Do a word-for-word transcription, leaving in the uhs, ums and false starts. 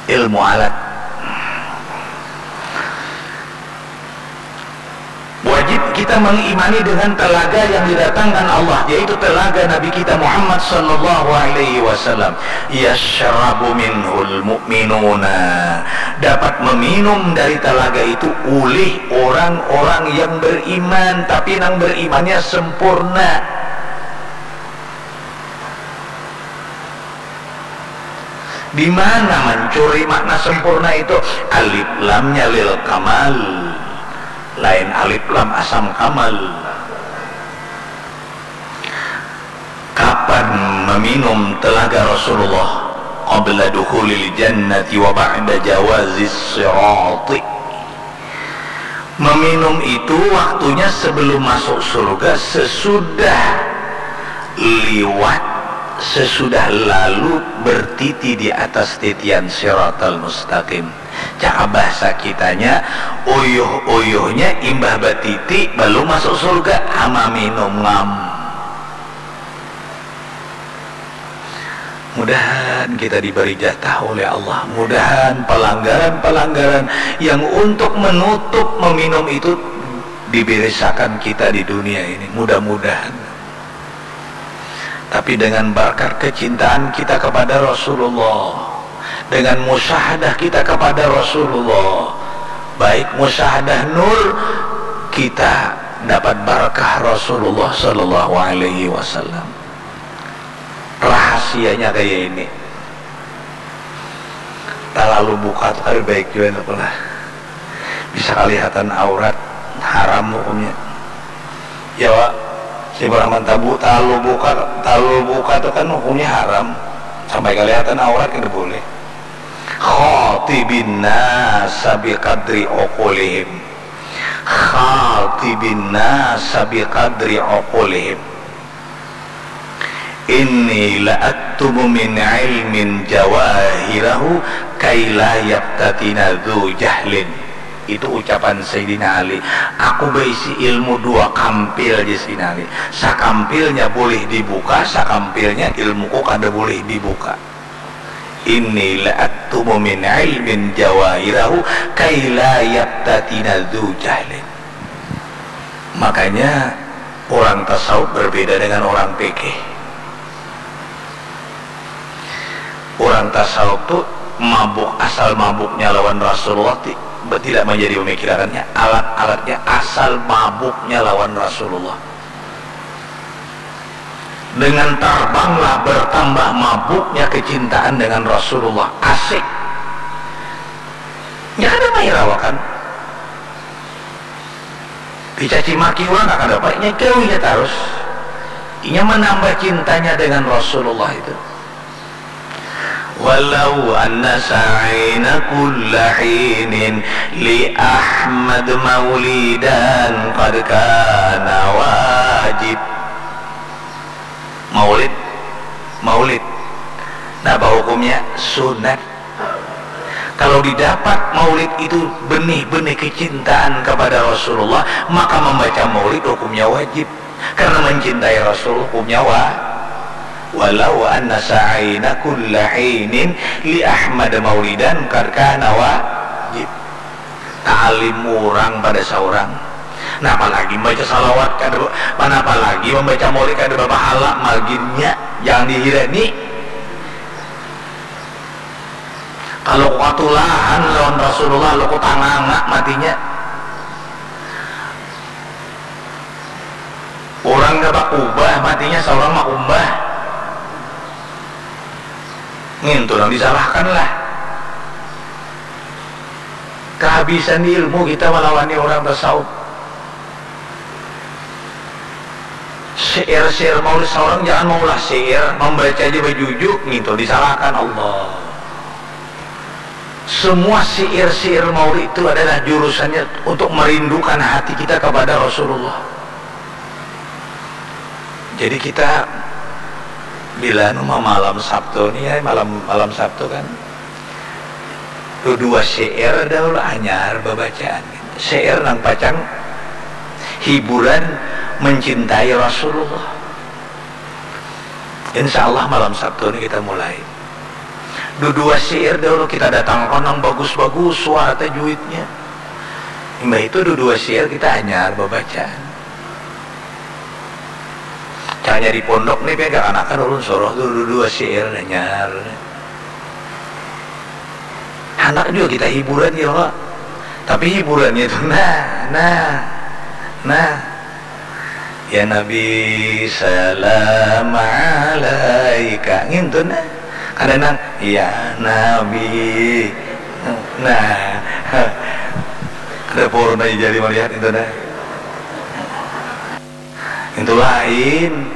Ilmu alat. Wajib kita mengimani dengan telaga yang didatangkan Allah, yaitu telaga Nabi kita Muhammad sallallahu alaihi wasallam. Yashrabu minhul mu'minuna. Dapat meminum dari telaga itu ulih orang-orang yang beriman, tapi nang berimannya sempurna. Di mana mancuri makna sempurna itu? Alif lamnya lil kamal, lain alif lam asam kamal. Kapan meminum telaga Rasulullah? Qabla dukhulil jannati wa ba'da jawazis sirati. Meminum itu waktunya sebelum masuk surga, sesudah liwat, sesudah lalu bertiti di atas titian siratal mustaqim. Cakap bahasa kitanya, uyuh-uyuhnya imbah batiti balum masuk surga, ama minum ngam. Mudahan kita diberi jatah oleh Allah. Mudahan pelanggaran-pelanggaran yang untuk menutup meminum itu diberesakan kita di dunia ini. Mudah-mudahan. Tapi dengan berkat kecintaan kita kepada Rasulullah, dengan musyahadah kita kepada Rasulullah, baik musyahadah nur, kita dapat barakah Rasulullah sallallahu alaihi wasallam. Rahasianya kayak ini. Talalu buka tu kada baik jua, napa lah. Bisa kalihatan aurat, haram hukumnya. Ya, Wa. Si Brahman Tabu, talalu buka, talalu buka tu kan hukumnya haram. Sampai kalihatan aurat kada boleh. Khatibin nasa biqadri uqulihim. Khatibin nasa biqadri uqulihim. Inni la aktumu min ilmin jawahirahu kai la yaftatina dzu jahlin. Itu ucapan Sayyidina Ali. Aku baisi ilmu dua kampil, jar Sayyidina Ali. Sakampilnya boleh dibuka, sakampilnya ilmuku kada boleh dibuka. Inni la aktumu min ilmin jawahirahu kai la yaftatina dzu jahlin. Makanya orang tasawuf berbeda dengan orang fikih. Orang tasawuf tu mabuk, asal mabuknya lawan Rasulullah ti-, tidak menjadi pemikirannya, alat-alatnya asal mabuknya lawan Rasulullah. Dengan tarbanglah bertambah mabuknya kecintaan dengan Rasulullah. Asik. Nya kada mahirawakan. Dicaci maki urang kada apa, inya gawinya tarus. Inya menambah cintanya dengan Rasulullah itu. Walau anna sa'aina kulla hinin li Ahmad maulidan qad kana wajib. Maulid, maulid. Napa hukumnya? Sunat. Kalau didapat maulid itu benih-benih kecintaan kepada Rasulullah, maka membaca maulid hukumnya wajib. Karena mencintai Rasul hukumnya wa-, walau anna sa'aina kulla hinin li Ahmad maulidan qad kana wajib. Ta'alim urang pada saurang. Nah, apalagi membaca salawat kada, mana apalagi membaca maulid kada bapahala, maginnya jangan dihirani. Kalau ku katulahan lawan Rasulullah, lo ku tanganga matinya. Urang kada bakubah matinya, saurang makumbah. Ngintu nang disalahkan lah. Kahabisan di ilmu kita malawani urang tasawuf. Syair-syair maulid saurang jangan maulah syair, membaca aja bajujuk, ngintu disalahkan Allah. Semua syair-syair maulid itu adalah jurusannya untuk merindukan hati kita kepada Rasulullah. Jadi kita bila anu malam Sabtu ni ya, malam, malam Sabtu kan, tu dua syair dahulu anyar babacaan. Syair nang pacang hiburan mencintai Rasulullah. Insya Allah malam Sabtu ni kita mulai. Dudua syair dahulu kita datangkan nang bagus-bagus suara tajwidnya. Imbah itu dudua syair kita hanyar babacaan. Caranya di pondok nih, pian kakanakan ulun suruh tu dudua syair hanyar. Handak jua kita hiburan ya, Pak. Tapi hiburannya itu nah, nah, nah. Ya Nabi, salam alaika. Ngintu nah. Kada nang, ya Nabi. Nah. Kada purna jadi malihat itu nah. Itu lain.